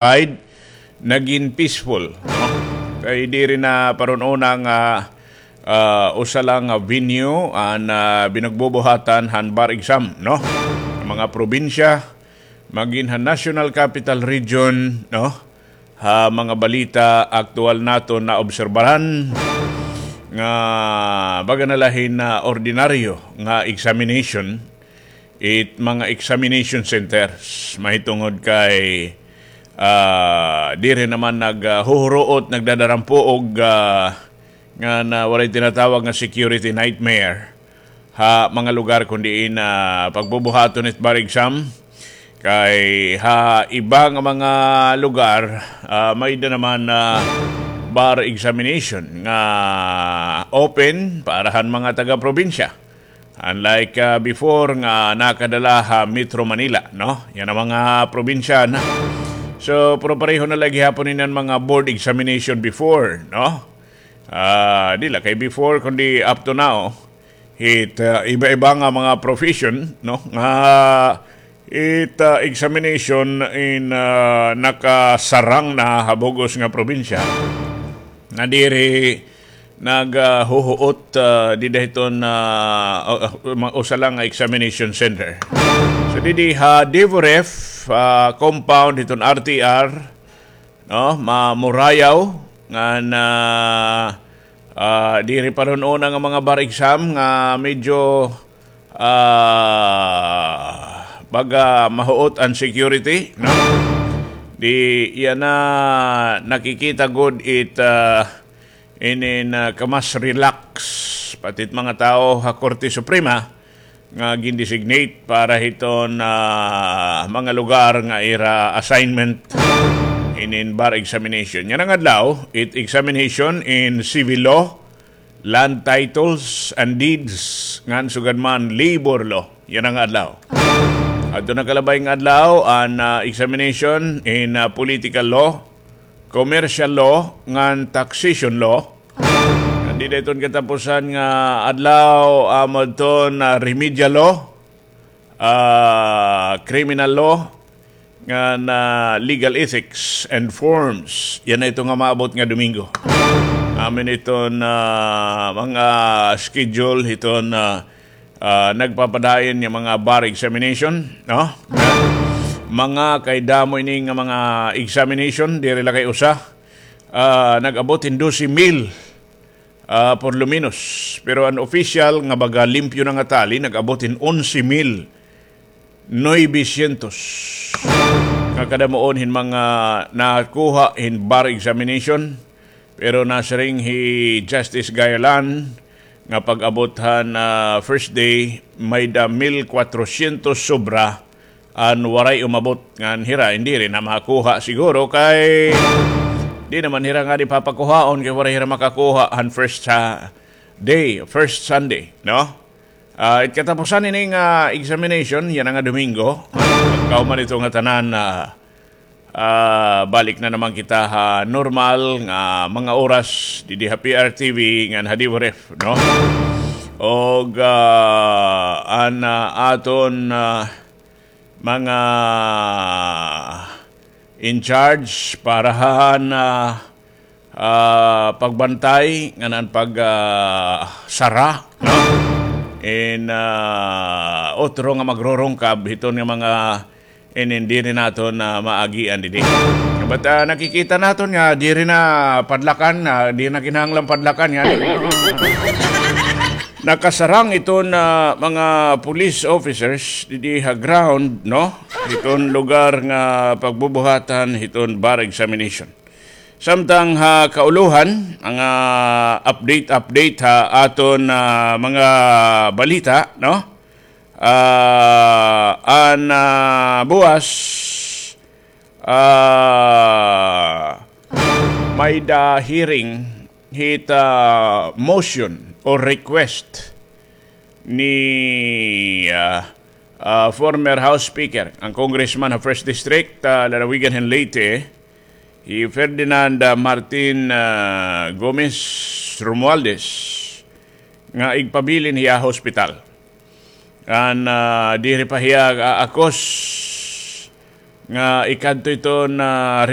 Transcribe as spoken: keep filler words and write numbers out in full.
side, nagin peaceful, no? Kay diri na parun-una nga, ah, usa la nga venue an, ah, binagbubuhatan han bar exam, no? Mga probinsya, magin han National Capital Region, no? Ha mga balita aktual naton naobserbaran nga baga na la hin, ah, ordinaryo nga examination, it mga examination centers, mahitungod kay, ah, diri naman nag, ah, huhuruot, nagdadarampoog, ah, nga na waray tinatawag nga security nightmare ha mga lugar kun diin, ah, pagbubuhaton it bar exam. Kay ha iba nga mga lugar, ah, may-ada naman, ah, bar examination nga open para han mga taga-probinsya. Unlike, ah, before nga nakadala ha Metro Manila, no? Yana mga probinsya na. So, pero pareho na la gihapon ini an mga board examination before, no? Ah, di la kay before, kundi up to now, it, ah, iba-iba nga mga profession, no? Nga it, ah, examination in, ah, nakasarang na ha bug-os nga probinsya. Nadiri naghuhuot, ah, dida hiton, ah, ah, ma-, usa la nga examination center. So, didi ha Devo Ref, ah, compound hiton R T R, no, ma-, Murayaw, ngan, ah, diri parun-una nga mga bar exam nga medyo, ah, baga mahuot an security, no? Di yana nakikita gud it, ah, inin, ah, kamas relax pati it mga tawo ha Korte Suprema nga gin-designate para hiton, ah, mga lugar nga ira assignment inin bar examination. Yana nga adlaw, it examination in civil law, land titles and deeds, ngan sugad man labor law. Yana nga adlaw. Adto nakalabay nga adlaw, an, ah, examination in, ah, political law, commercial law, ngan taxation law. Ngan dida hiton katapusan nga adlaw, ah, amo adton, ah, remedial law, ah, criminal law, ngan legal ethics and forms. Yana ito nga maabot nga Domingo. Amo ini iton, ah, mga schedule hiton, ah, ah, nagpapadayon nga mga bar examination, no? Mga kay damo ini nga mga examination, diri la kay usa. Ah, nag-abot hin dose mil, ah, por lo menos. Pero an official nga baga limpyo na nga tally, nag-abot hin onse mil novecientos nga kadamuon hin mga nakuha hin bar examination. Pero nasiring hi Justice Gayolan nga pag-abot han, ah, first day, may-ada mil kwatrosyentos sobra an waray umabot ngan hira, diri na makuha siguro kay di naman hira ngani papakuhaon kay waray hira makakuha han first, ah, day, first Sunday, no? Ah, it katapusan ini nga examination, yana nga Domingo, pagkahuman ito nga tanan, ah, ah, balik na naman kita ha normal nga mga oras didi ha P R T V ngan ha Devo Ref, no? Og, ah, an, ah, aton, ah, mga in charge para han, ah, ah, pagbantay ngan an pag, ah, sara, no? In, ah, otro nga magrurungkab hiton nga mga inin diri naton, ah, maagian didi. But, ah, nakikita naton nga diri na padlakan, ah, diri na kinahanglan padlakan nga nakasarang iton, ah, mga police officers didi ha ground, no? Hiton lugar nga pagbubuhatan hiton bar examination. Samtang ha kaulohan, mga update-update ha aton, ah, mga balita, no? Ah, an, ah, buwas, ah, may-ada hearing hit, ah, motion or request ni, ah, ah, former House Speaker, an Congressman ha First District, ah, lalawigan hin Leyte, hi Ferdinand, ah, Martin, ah, Gomez Romualdez, nga igpabilin hiya ha hospital. An, ah, diri pa hiya aakos nga ikadto iton, ah,